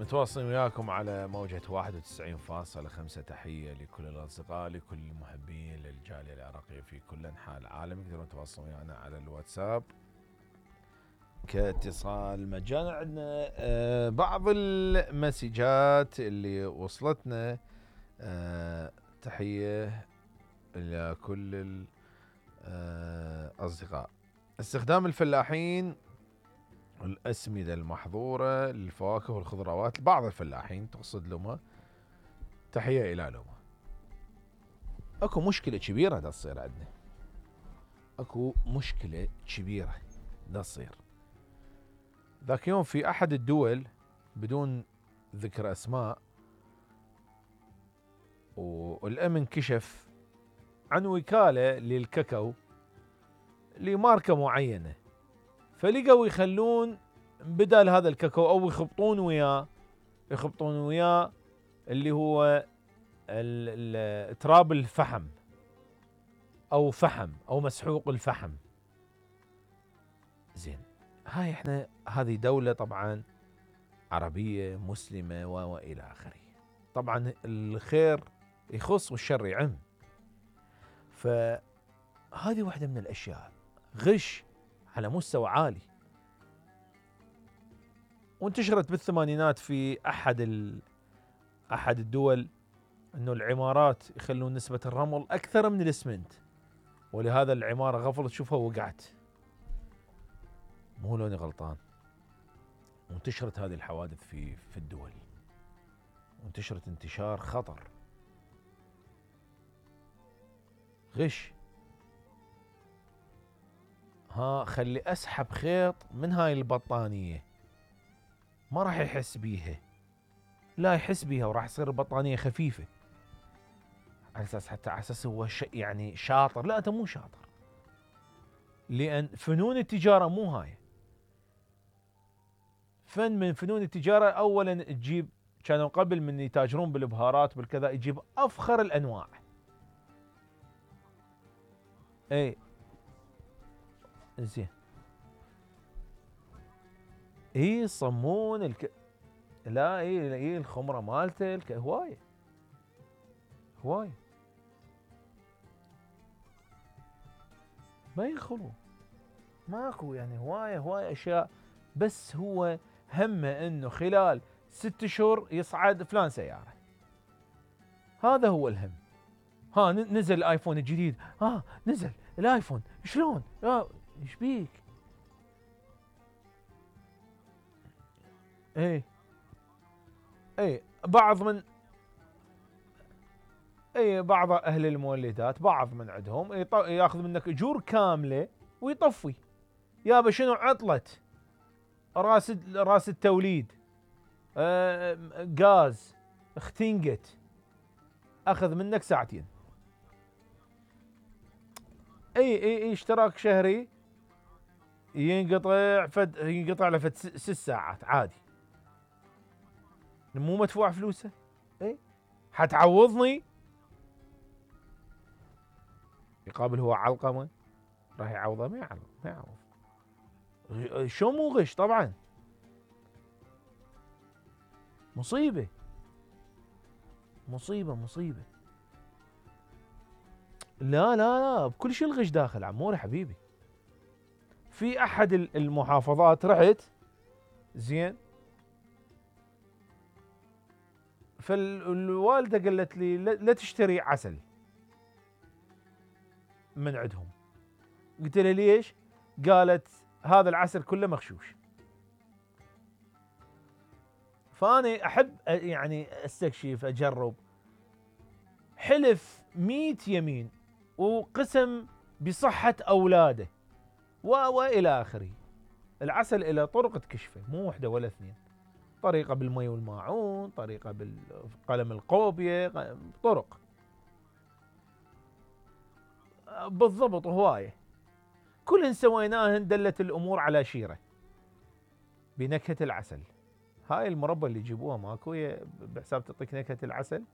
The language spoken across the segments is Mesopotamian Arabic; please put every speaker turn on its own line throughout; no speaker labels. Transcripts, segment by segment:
متواصلين وياكم على موجة 91.5. تحية لكل الأصدقاء، لكل المحبين للجالية العراقية في كل أنحاء العالم. يقدرون يتواصلون ويانا على الواتساب كاتصال مجانا. عندنا بعض المسجات اللي وصلتنا. تحية إلى كل الأصدقاء. استخدام الفلاحين الأسمدة المحظورة للفواكه والخضروات، بعض الفلاحين تقصد لهم، تحية إلى لهم. اكو مشكلة كبيرة دا تصير عندنا، اكو مشكلة كبيرة دا تصير. ذاك يوم في أحد الدول بدون ذكر أسماء، والأمن كشف عن وكالة للكاكاو لماركة معينة، فلقوا يخلون بدل هذا الكاكاو أو يخبطون وياه اللي هو تراب الفحم أو فحم أو مسحوق الفحم. زين، هاي احنا هذه دولة طبعا عربية مسلمة وإلى آخره، طبعا الخير يخص والشر يعم. فهذه واحدة من الأشياء، غش على مستوى عالي، وانتشرت بالثمانينات في أحد الدول أنه العمارات يخلون نسبة الرمل أكثر من الإسمنت، ولهذا العمارة غفلت تشوفها وقعت. مو لوني غلطان. وانتشرت هذه الحوادث في الدول، وانتشرت انتشار خطر. غش. خلي أسحب خيط من هاي البطانية، ما راح يحس بيها، لا يحس بيها، وراح تصير البطانية خفيفة على أساس حتى على أساس هو يعني شاطر. لا، أنت مو شاطر، لأن فنون التجارة مو هاي. فن من فنون التجارة أولا تجيب، كانوا قبل من يتاجرون بالبهارات بالكذا يجيب أفخر الأنواع. اي زين، يصمون لا اي الخمرة مالته هواية ما يخلو، ماكو يعني هواية اشياء، بس هو همه انه خلال 6 شهور يصعد فلان سيارة. هذا هو الهم. نزل الايفون الجديد، نزل الايفون شلون، ايش بيك؟ بعض اهل المولدات، بعض من عندهم ياخذ منك اجور كامله ويطفي. يابا شنو عطلت راس التوليد، غاز اختنقت، اخذ منك ساعتين. اي اشتراك شهري ينقطع له 6 ساعات عادي، مو مدفوع فلوسه. حتعوضني؟ يقابل هو علقمه راح يعوضه؟ ما يعوض. شو مو غش؟ طبعا مصيبة. لا بكل شيء الغش داخل عموري حبيبي. في احد المحافظات رحت، زين، فالوالدة قالت لي لا تشتري عسل من عندهم. قلت لها ليش؟ قالت هذا العسل كله مغشوش. فأنا أحب يعني استكشف أجرب. حلف 100 يمين وقسم بصحة أولاده وإلى آخره. العسل إلى طرق تكشفه، مو واحدة ولا 2، طريقة بالمي والماعون، طريقة بالقلم القوبية، طرق بالضبط هواية. كلهن سويناهن دلت الأمور على شيرة بنكهة العسل. هاي المربى اللي يجيبوها ماكو بحساب تعطيك نكهة العسل.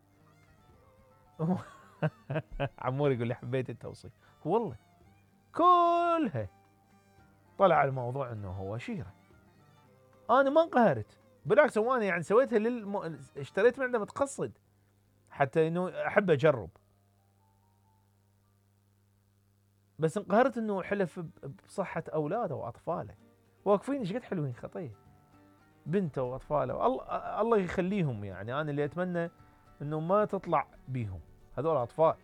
عمور يقول لي حبيت التوصيف، والله كلها طلع الموضوع انه هو شيرة. انا ما انقهرت، بالعكس هو انا يعني سويتها اشتريت من عنده متقصد حتى انه احب اجرب. بس انقهرت انه حلف بصحة اولاده واطفاله، واقفين ايش قد حلوين خطيه، بنته واطفاله، الله يخليهم. يعني انا اللي اتمنى انه ما تطلع بيهم هذول اطفال.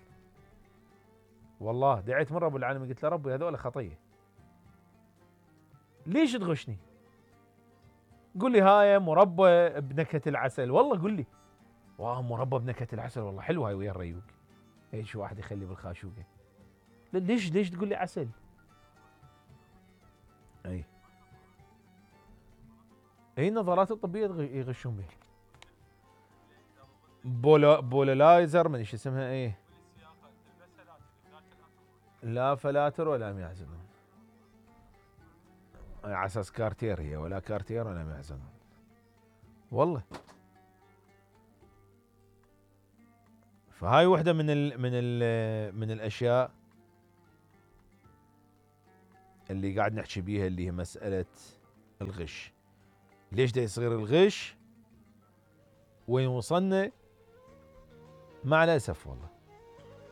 والله دعيت مره ابو العالمين قلت له ربي هذول خطيه، ليش تغشني؟ قول لي هاي مربى بنكهه العسل، والله قول لي واه مربى بنكهه العسل والله حلوه هاي ويا الريوق، ايش واحد يخلي بالخاشوقه، ليش تقول لي عسل؟ اي النظارات الطبيه يغشون بها. بولالايزر من ايش اسمها ايه، لا فلاتر ولا معزنون، على اساس كارتير هي، ولا كارتير ولا معزنون والله. فهاي وحده من الاشياء اللي قاعد نحكي بيها، اللي هي مساله الغش. ليش دا يصير الغش؟ وين وصلنا؟ مع الاسف والله.